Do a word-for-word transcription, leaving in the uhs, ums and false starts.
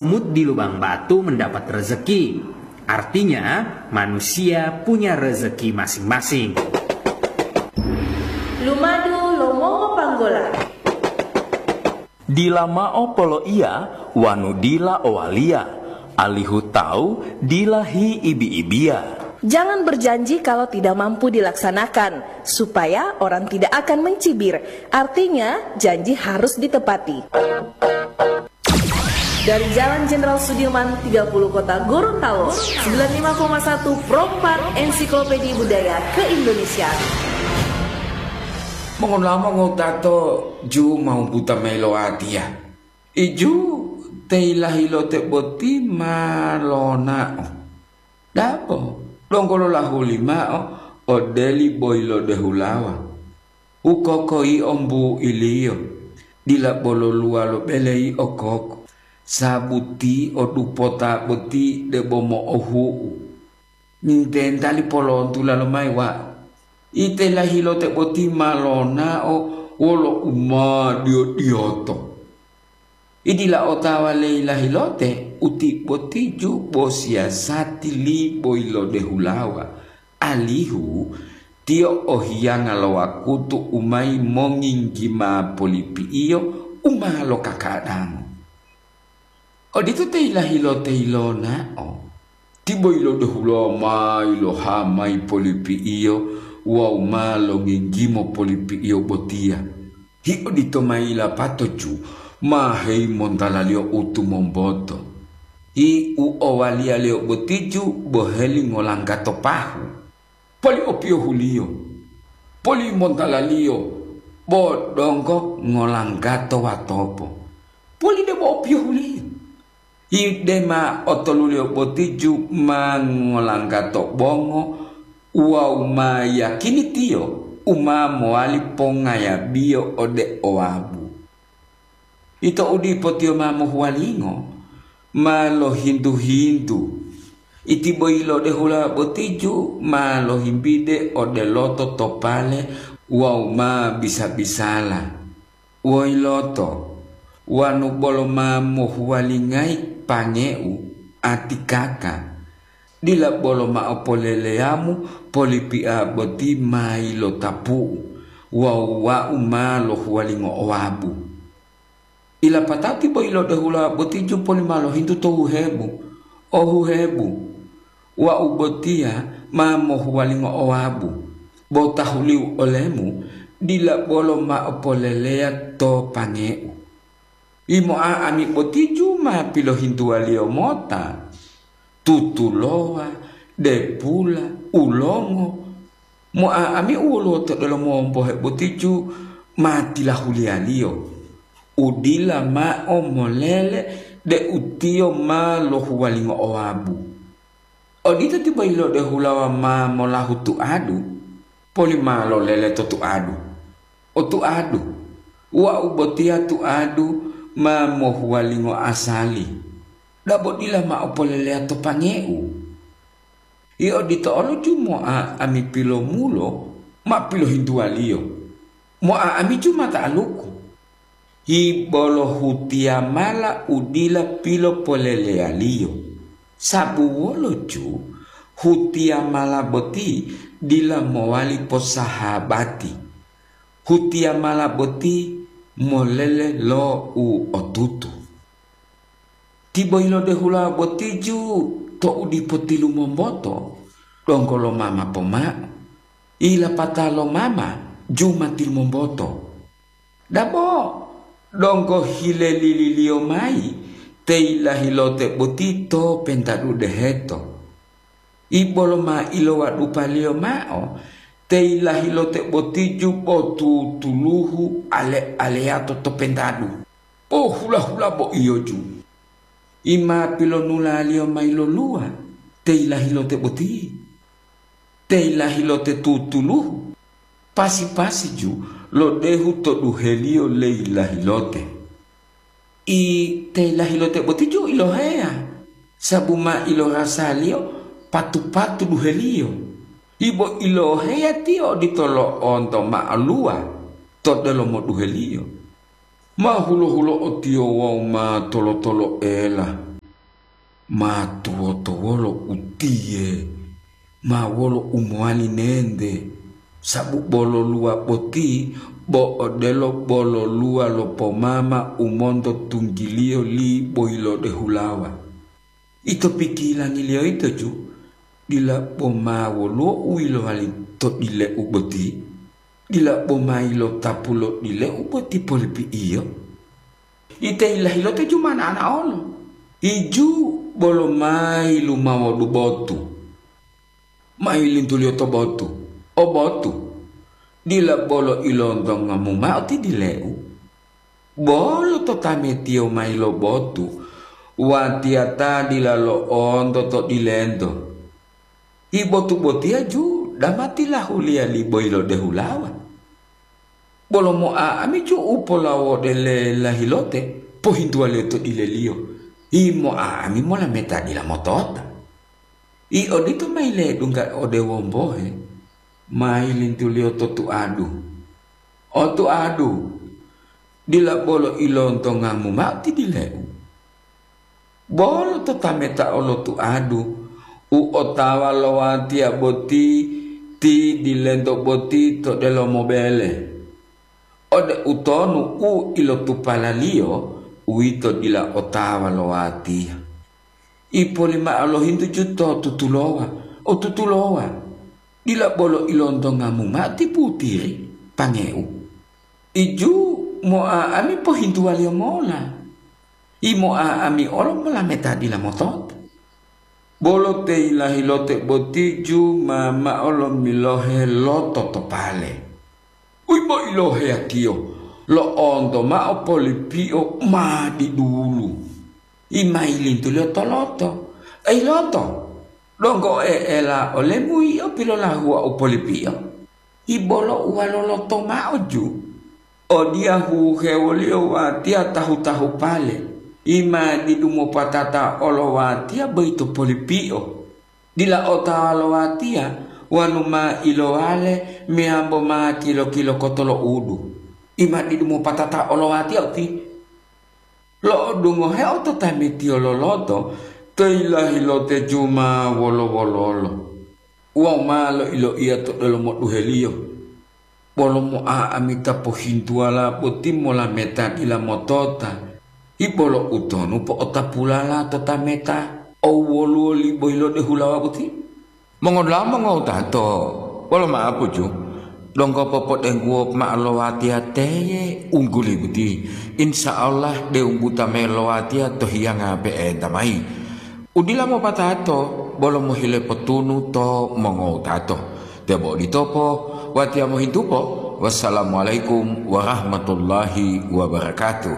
Mut di lubang batu mendapat rezeki. Artinya, manusia punya rezeki masing-masing. Lumadu lo mongo panggola. Dila mao poloiya wanu dila owaliya, alihu tawu dila hiibi-ibiya. Jangan berjanji kalau tidak mampu dilaksanakan, supaya orang tidak akan mencibir. Artinya, janji harus ditepati. Dari Jalan Jenderal Sudirman tiga puluh Kota Gorontalo, sembilan lima koma satu Pro empat Ensiklopedia Budaya Keindonesiaan. Mongonamo ngotato ju mau buta mayi lo watiya. Iju te ilahilote boti ma lonao. Dabo, donggo lolahuli mao ode li boyilodehulawa. Ukoko yio mbuiliyo, dila bolo luwalo bele yio koko, sabuti o dupota boti debo mo'ohu'u. Nintentali polontula lomayi wau. Ite lahilote boti ma lonao wolo umadiyo-diyoto. Idila otawa leyi lahilote uti botiju bo siyasati li boyilodehulawa, alihu tiyo ohiyanga lo wakutu u mayi monginggima polipi'iyo u ma lokakadango. Odito te yilahilote yilonao, ti boyilodehulawa ma yiloha mayi polipi'iyo wawu ma longinggimo polipi'iyo botiya. Hi odito ma yilapato ju ma heyimontala-Liyo u tumomboto. Hi u owaliya-Liyo botiju boheli ngolanggato pahu. Poli opiyohuliyo, poli montala-Liyo, bo donggo ngolanggato watopo. Poli debo opiyohuliyo. Hi dema otoluliyo botiju ma ngolanggato bongo wawu ma yiyakini tiyo u ma mowali pongayabiyo ode owabu. Ito u dipo tiyo ma mohuwalingo, ma lohintu-hintu. Iti boyilodehula botiju ma lohimbide ode loto to pale wawu ma bisa-bisala. Woiloto, wanu bolo ma mohuwalingayi pangeu, atikaka, dila bolo mao poleleyamu polipia boti ma yilotapu'u wawu wau ma lohuwalingo owabu. Ilapatao ti boyilodehula botiju poli ma lohintu to huhebu, ohuhebu, wau botiya ma mohuwalingo owabu, bo tahuliu olemu dila bolo mao poleleya to pangeu. Yimoa ami botiju ma pilohintuwaliyo mota, tutulowa, depula, ulongo, moa ami u woluwo to delomo wombohe botiju ma tilahuliyaliyo, u dila mao molele deu tiyo ma lohuwalingo owabu. Odito ti boyilodehulawa ma molahu tuadu, poli ma lolele to tuadu. O tuadu, wau botiya tuadu ma mohuwalingo asali. Dabo dila mao poleleya to pangeu. Yio odito olo ju moa ami pilomulo ma pilohintuwaliyo. Moa ami ju ma ta'aluku. Hi bolo hutiyamala u dila pilopoleleyaliyo. Sabu wolo ju hutiyamala boti dila mowali posahabati. Hutiyamala boti molele lo u otutu. Ti boyilodehula botiju to u dipo tilumomboto, donggo lo mama pomao. Ilapata lo mama ju ma tilumomboto. Dabo, donggo hilelililiyo mayi te yilahilote boti to pentadu deheto. Ibolo ma ilowadupaliyo mao te yilahilote botiju bo tutuluhu ale-aleyato to pentadu. Pohula-hula bo iyoju. Ima pilonulaliyo mayi loluwa te yilahilote boti. Te yilahilote tutuluhu, pasi-pasiju lodehu to duheliyo le yilahilote. I te yilahilote boti ju iloheya, sabu ma ilorasaliyo patu-patu duheliyo. Ibo iloheya tiyo odito lo'onto ma'aluwa to delomo duheliyo. Ma hulo-hulo'o tiyo wawu ma tolo-toloela. Ma tuwoto wolo utiye, ma wolo u mowali nente, sabu bololuwa boti bo odelo bololuwa lo pomama u monto tunggiliyo li boyilode hulawa. Ito pikilangiliyo yito ju, dila bo ma woluwo u yilowali to dileu boti? Dila bo ma yilotapu lo dileu boti polipi'iyo? Ite yilahilote ju ma na'ana olo. Iju bolo ma yilumawodu botu. Ma yilintuliyo to botu. O botu, dila bolo ilontongamu mao ti dileu. Bolo to tametiyo mayi lo botu, watiya ta dila lo'onto to dilento. Ibotu botiya ju dama tilahuliya li boyilode hulawa. Bolo mo'a'ami ju u polawode le lahilote, pohintuwaliyo to dileliyo. Imo'a'ami molameta dila motota. I odito ma yiledungga ode wombohe, ma yilintuliyo to tuadu. O tuadu, dila bolo ilontongamu mao ti dileu. Bolo to tameta olo tuadu, u otawa lo watiya boti ti dilento boti to delomo bele. Ode utonu u ilotupalaliyo, uwito dila otawa lo watiya. Ipolimao lohintu ju to tutulowa, o tutulowa, dila bolo ilontongamu mao ti putiri, pangeu. Iju mo'a'ami pohintuwaliyo mola. Imo'a'ami olo molameta dila motota. Bolo te yilahilote boti ju ma mao lomilohe loto to pale. Uyi bo iloheyatiyo, lo'onto mao polipio ma didulu. Imayilintuliyo to loto. Ei loto, donggo e'ela olemu yio pilolahuwa u polipio? Ibolo uwaloloto mao ju. Odiya huhewoliyo watiya tahu-tahu pale, ima didu mopatata olo watiya boyito polipio. Dila otawa lo watiya wanu ma ilowale meyambo ma kilo-kilo kotolo'udu. Ima didu mopatata olo watiya uti. Lo'odungoheo to tametiyo loloto, to yilahilote ju ma wolo-wololo. Wawu ma loiloiya to delomo duheliyo, bolo mo'a'amita pohintuwala boti molameta dila motota, ibolo utonu po'otapulala to tameta o woluwo liboyilode hulawa boti? Mongodula'a mongowutato, wolo ma'apuju, donggo popodengguwo mao lo watiya teye ungguli boti. Insya Allah, deu buta mayi lo watiya to hiyanga pe'enta mayi. Udila mopatato bolo mohile potunu to mongowutato. Tebo oditopo, watiya mohintupo. Wassalamualaikum warahmatullahi wabarakatuh.